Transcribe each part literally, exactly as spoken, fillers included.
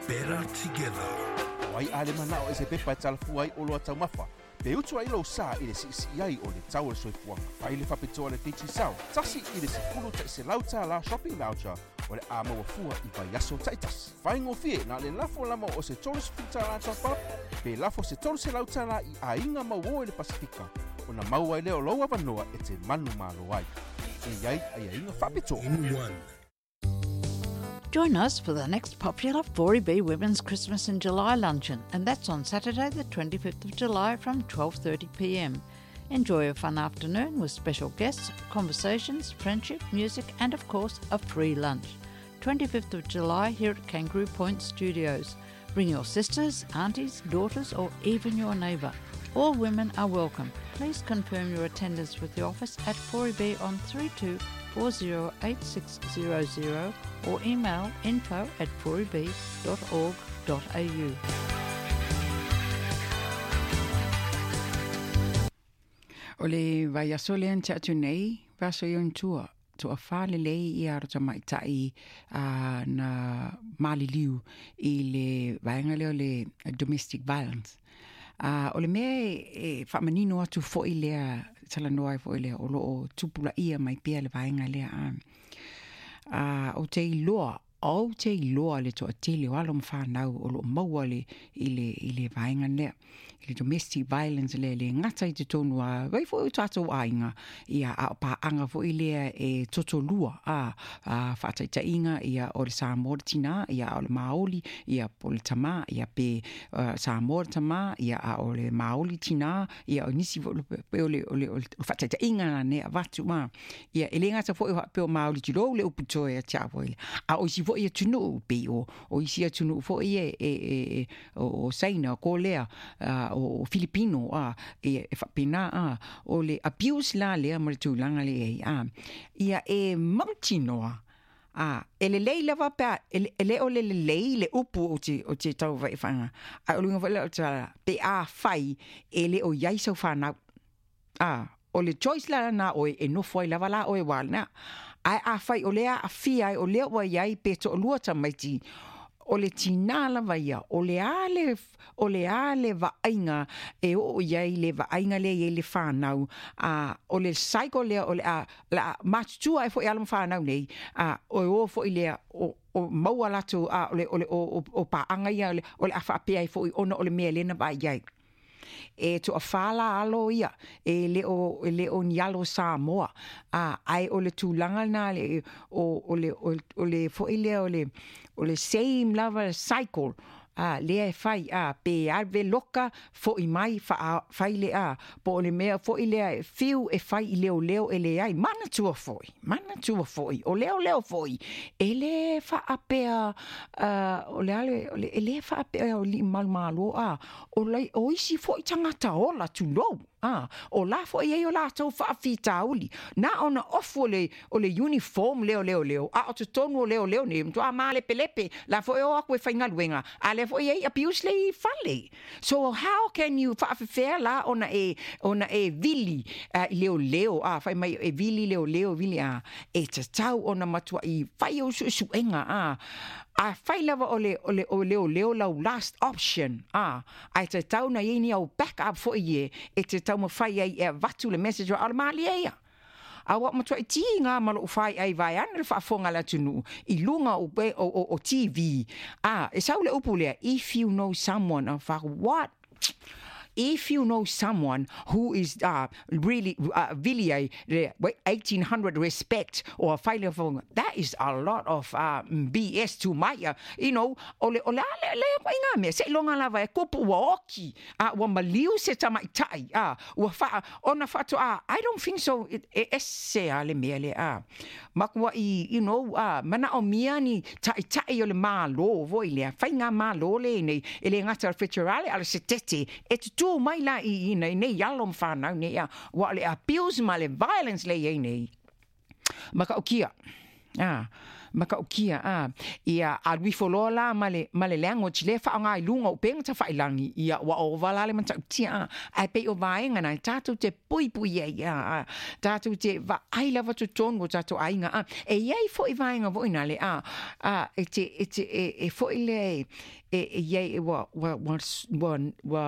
Better together. O ai ale manao e se pepa e talafua ai o loa taumafa. Pe utu ai lou sa i le siisii ai o le tau o le soifuaga. Fai le faapitoa le Digicel, tasi i le sefulu ta'iselau tālā shopping voucher o le a maua fua i vaiaso ta'itasi. Faigofie na le lafo lama o se tolu sefulu tālā top up, pe lafo se tolu selau tālā i aiga mauō i le Pasifika, ona maua ai lea o lou avanoa e te manumalo ai. E i ai aiaiga faapitoa. In one. Join us for the next popular four E B Women's Christmas in July luncheon, and that's on Saturday the twenty-fifth of July from twelve thirty p m. Enjoy a fun afternoon with special guests, conversations, friendship, music, and of course a free lunch. twenty-fifth of July here at Kangaroo Point Studios. Bring your sisters, aunties, daughters, or even your neighbour. All women are welcome. Please confirm your attendance with the office at four E B on three two four zero eight six zero zero or email info at four e b dot org dot a u. O le vaiaso lea na tea atu nei, vaiaso i ona tua, toafā lelei ia alo tamaitai a na maliliu i le vaega lea o le domestic violence. A o le mea e faamanino atu fo'i lea talanoa ai fo'i lea o loo tupulaia mai pea le vaega lea a. A ou te iloa ou te iloa le toatele o alo ma fanau o loo maua le i le i le vaega lea i le domestic violence lea le gata i totonu a vai fo'i o tatou aiga ia a o paaga fo'i lea e totolua a a faataitaiga ia o le Samoa le tinā ia a o le Maoli ia po le tamā ia pe uh, Samoa le tamā ia a o le Maoli tinā ia o nisi fo'i pe o le o le o le faataitaiga lana e avatu ma ia e le gata fo'i faapea o Maoli tulou le upu toe ia te au fo'i a o isi fo'i atunuu pei o o isi atunuu fo'i e e e o, o Saina o Kolea uh, o Filipino a e, e faapena a o le abuse la lea ma le tulaga le ai a ia e mautinoa a e lelei lava pea e, e le o le lelei le upu o te o te tau vaifanga a o luga fo'i lea o te pe a fai e le o iai sau fanau a o le choice la na oe e nofo ai lava la oe wa na ae a fai o lea aafia ai o lea ua iai pe toalua tamaiti o le tinā lava ia o le a le o le a le vaaiga e oo i ai le vaaiga lea i ai le fanau a o le cycle lea o le a la matutua ai fo'i alo ma fanau nei a o e o fo'i lea o o maua latou a o le o le o o, o paaga ia o le o le a faapea ai fo'i ona o le mea lea na vaai ai e toafā la alo ia e le o e le o ni alo Samoa a ai o le tulaga na le o o le o, o le fo'i lea o le o le same lava cycle a lea e fai a pe ave loka fo'i mai fa fai le a po o le mea fo'i lea e fiu e fai i leoleo e leai manatua fo'i manatua fo'i o leoleo fo'i e le faapea uh, o le ale o le e le faapea o alii malomalo a o lai o isi fo'i tagata ola tulou a o la fo'i ai o latou faafitauli na ona ofu o le o le uniform lea o leoleo a o totonu o leoleo nei matua malepelepe la fo'i o aku e faigaluega a lea fo'i ai abuse le i fale. So how can you faafefea la ona e ona e vili uh, i leoleo a fai mai e vili leoleo vili a e tatau ona matuai fai o suesuega a a fai lava o le o le o leoleo lau last option a ai tatau na iai ni au back up fo'i e e te taumafai ai e avatu le message o le malie ia a ua matuai tiga ma lou fai ai vaeane le faafofoga le atunuu i luga o, o, o, o T V a e sau le upu lea, "If you know someone," a fa what, if you know someone who is uh, really uh, really a eighteen hundred respect or faile, that is a lot of uh, B S to my uh, you know o le o le ale le ko inga me se longa lava e kupu ua oki a ua maliu se tamaitai a ua fa ona fato a I don't think so e ese a le mea le a makua i you know a mana o mia ni taitai o le malo voi lea faiga malo le nei e le gata o le federale ale se tete e tutu mai la i i nei nei alo ma fanau nei a ua le abuse ma le violence le iai nei makaukia a Makaukia a ia alu ifo loa la ma le ma le language le faaaoga i luga o upega tafailangi ia ua ova la le matautia a ae pei o vaega na tatou te puipui ai a tatou te vaai lava totonu o tatou aiga a e iai foʻi vaega foʻi na le a a e te e te e, e foʻi le e e iai ua ua ua ua ua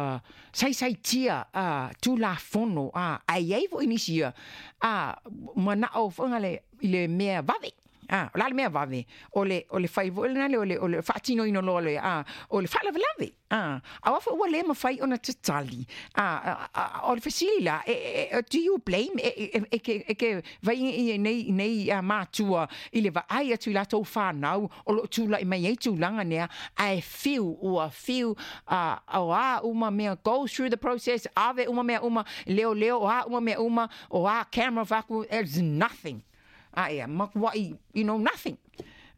saisaitia a tulafono a ae iai foʻi nisi ia a manaʻo foʻi le i le mea vave. Ah, o la le mea vave o le o le fai foʻi lena le o le o le faatinoina loa le a o le faalavelave a aua foʻi ua lē mafai ona tatali a o le fesili la e, e, do you blame e, e, e, ke, e ke vai i nei nei a matua i le vaai atu i latou fanau o loo tulaʻi mai ai tulaga nea ae fiu ua fiu a o a uma mea go through the process ave uma mea uma leo leo o a uma mea uma o a camera faku there's nothing. Ah, yeah, makuai, you know, nothing.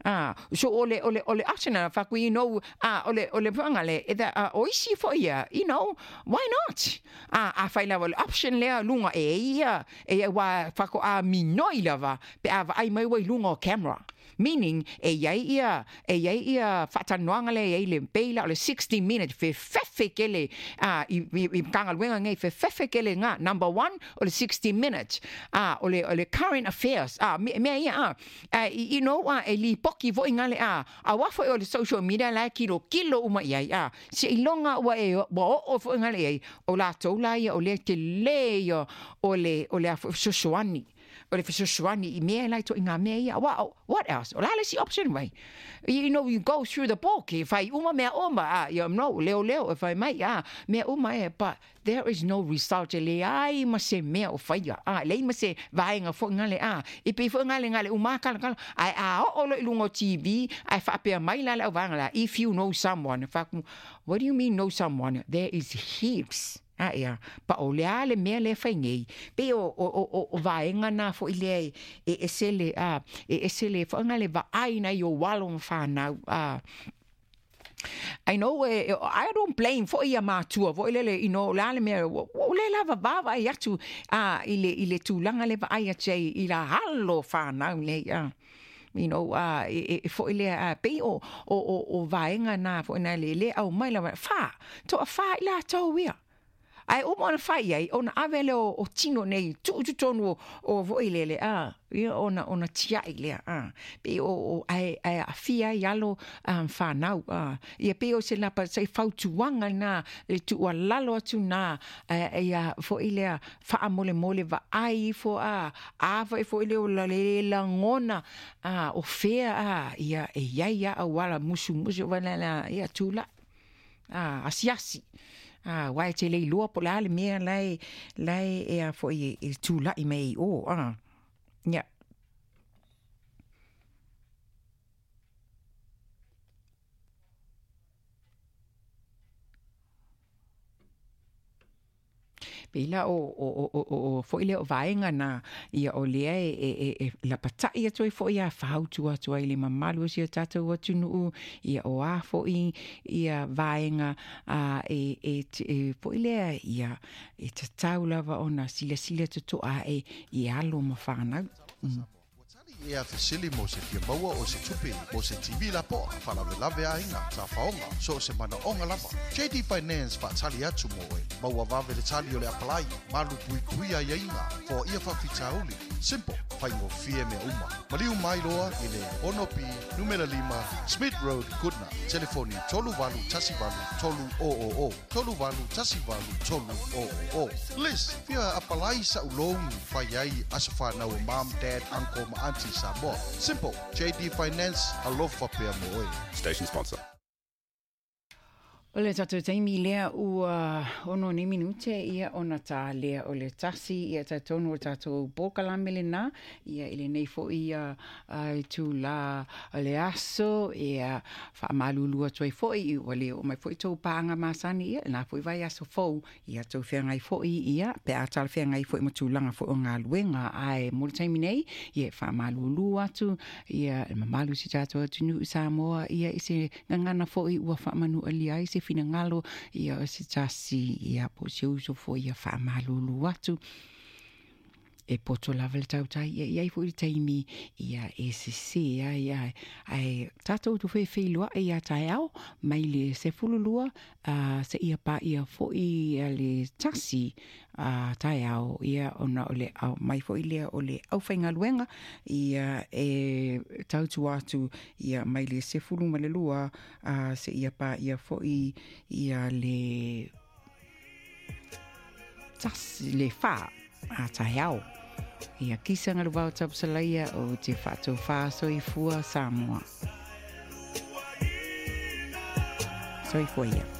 Ah, so ole ole ole option faku, you know, ah, ole ole pangale, e da o isi fo ia, you know, why not? Ah, a fai lava le option lea lunga e ia, e wa faku a minoi lava, pe a ai mai wai lunga o camera. Meaning, e iai ia, e iai ia faatanoaga le iai le peila o le sixty minute fefefe kele a i i Matagaluega nei fefefe kele ngā number one o le sixty minute a o le o le current affairs a mea ia a you know a e lipoki foʻi ngale a aua foʻi o le social media la kilo kilo uma iai a seiloga ua e ua oo foʻi ngale iai o latou la ia o le telē ia o le o le fesoasoani o le fesoasoani i mea lai toʻiga mea ia what else o la le isi option vai you know you go through the book e fai uma mea uma a you know leo leo e fai mai a mea uma e but there is no result e leai ma se mea o faia a leai ma se vaega foʻi gale a e pei foʻi gale gale uma kalakala ae a oo loa i luga o T V ae faapea mai la le auvaega la if you know someone faku what do you mean know someone there is heaps. Ah, ia, pa o le a le mea le fai nei. Pe o, o, o, o vaenga nā fo i lea e ese le, a, e ese le, whaanga le vaai na i o walo whanau, a. I know, eh, I don't blame fo ia mātua, fo i lele, you know, la le mea, o le lava vava i atu, a, i le, i le tūlanga le vaai atu ai, i la halo whanau le, a. You know, uh, e, e fo ile a pe o o o o vaenga nā fo ina le le au mai la wha, toa wha i la tau ia. Ai o mona fai ai ona ave le o, o tino nei tu tu tonu o, o voi lele a ia ona ona tiai le a pe o o ai ai afia i alo um, whanau a ia pe o se lapa se fautuanga na le tu lalo atu na ia foi le wha mole mole va ai fo a a foi foi le o la le langona a o fea a ia e ia ia a wala musu musu wala la ia tula a asiasi. Ah, wai te lei lua po la le mea lai lai e a fo i e tūlaʻi mai o ah. Yeah. Pela o o o o o foi le o vaenga na ia o lea e e e la pataʻi atu ai foʻi a fautu atu ai le mamalu o sia tatou atunuu ia o a foʻi ia vaenga a e e e foʻi lea ia e tatau lava ona silasila totoʻa e i alo ma fanau. Mm. E a fesili mo se fia maua o se tupe mo se T V la poa faalavelave aiga tafaoga so o se manaʻoga lava J D Finance faatali atu mo oe maua vave le tali o le apalai malu puipui aiaiga foaia faafitauli simple faigofie mea uma maliu mai loa i le ono P numera lima Smith Road Goodna telefoni tolu valu tasi valu tolu o o o tolu valu tasi valu tolu o o o Liz fia apalai sa'u louni fai ai aso fanau o mom dad uncle ma auntie Samoa. Simple. J D Finance, alofa pea mo oe. Station sponsor. O le tatou taimi lea ua ono ni minute ia ona tā lea o le tasi ia tatonu o tatou pōkalame le nā ia i lenei foʻi ia ai tūlā o le aso ia faamalulu atu ai foʻi i ua le oo mai foʻi tou pāga masani ia lena foʻi vai aso fou ia tou feagai foʻi ia pe a talafeagai foʻi ma tulaga foʻi o galuega ae mo le taimi nei ia e faamalulu atu ia e mamalu si tatou atunuu Samoa ia i se gagana foʻi ua faamanualia ai se finagalo ia o se tasi ia po se uso fo ia faamalulu atu. e poto lava le tautai ia i ai foʻi le taimi ia e sesē ai ae ae tatou tufefeiloaʻi iā taeao mai le sefululua a seʻia paʻia foʻi ia le tasi a taeao ia ona o le au mai foʻi lea o le aufaigaluega ia e tautua atu ia mai le sefulu ma le lua a seʻia paʻia foʻi ia le tasi le fā a taeao ia kisaga le vao tapusalaia o te faatofā soifua Samoa. Soifua ia.